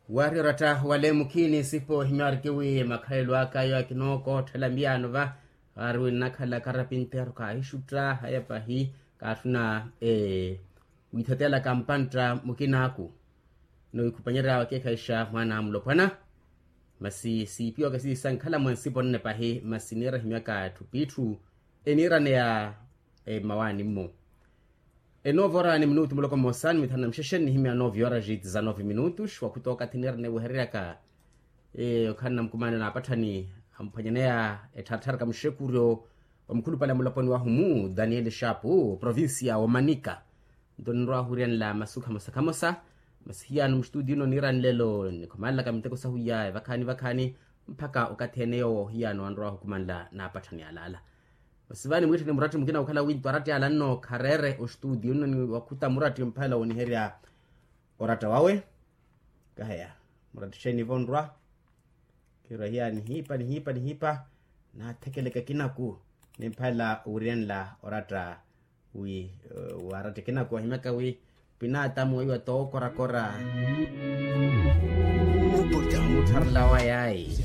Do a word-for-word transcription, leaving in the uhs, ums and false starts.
Waari oratta wale mukhini sipo ohimyaariki wi makhalelo aka ayo akinookotthela miyaano va. Aari wi nnakhala karapinteru kaahixutta haya pahi kaattuna wiithateyalaka mpantta mukinaaku. Nno wiikhupanyery'awe akeekhayixa mwaana a mulopwana. Masi siipiwaka siisankhala mwa nsipo nne pahi masi niira ehimyaka etthu p'itthu eniiraneya mmawaani-mmo. Enove ora ni minutu muloko mmosa ni mithanu na muxexe nnihimya nove ora jiti za nove minutu xwakhuta okathi niiraneya wehereryaka. Okhala na mukumaano na apatthani amphwanyaneya ettharatharaka muxekuryo wa mukhulupale a mulaponi wahu mu daniel shapu provincia wa manika. Nto ninrwa ohuriyanela masu khamosa khamosa. Masi hiyano muxitudiyo nno niira nlelo nikhumanlaka miteko sahu iya evakhaani vakhaani mpakha okathi ene yoowo hiyano anrwa ohukumanla n'apatthani alaala. Masi vaani mwiitthe ni muratti mukina okhala wi nto aratti ala nno khareere oxitudiyo nno niwakhuta muratti mphalela woniherya oratta wawe. Kaheya muratti xeeni vonrwa. Khirwa hiya nihiipa nihiipa nihiipa naathekeleke kinaku nimphalela owiriyanela oratta wi waaratta kinaku ahimyaka wi pinaatamu weiwa tookorakora. Muttharela wayaayi.